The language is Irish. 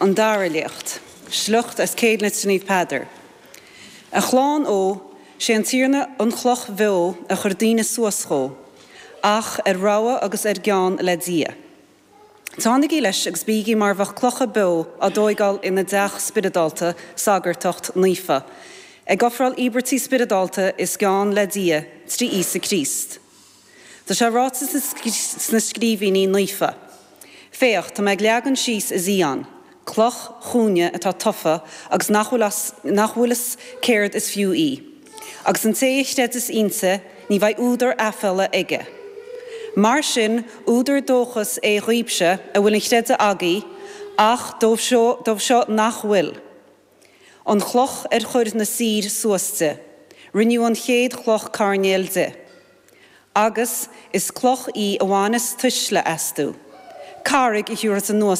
An dara léacht. Sliocht as Céad Litir Naomh Peadar. A chlann ó, sé an Tiarna an chloch bheo a chuir daoine suas dhó, ach ar rogha agus ar gean le Dia. Teannaigí leis agus bígí mar bheadh clocha beo á dtóigeáil ina dteach spioradálta, sagartacht naofa, ag ofráil íobairtí spioradálta is gean le Dia trí Íosa Críost. Tá sé ráite sna scríbhinní naofa, Féach, tá mé ag leagan síos i Zion, cloch chúinne atá tofa agus nach bhfuil as, nach bhfuil fhios céard is fiú í. Agus an té a chreideas inti, ní bheidh údar aiféala aige. Mar sin, údar dóchais é dhaoibhse a bhfuil an chreideamh agaibh, ach dóibh seo, dóibh seo nach bhfuil. An chloch ar chuir na saoir suas di, rinneadh an chéad chloch coirnéil di. Agus is cloch í a bhaineas tuisle astu, carraig a thiúrfas anuas.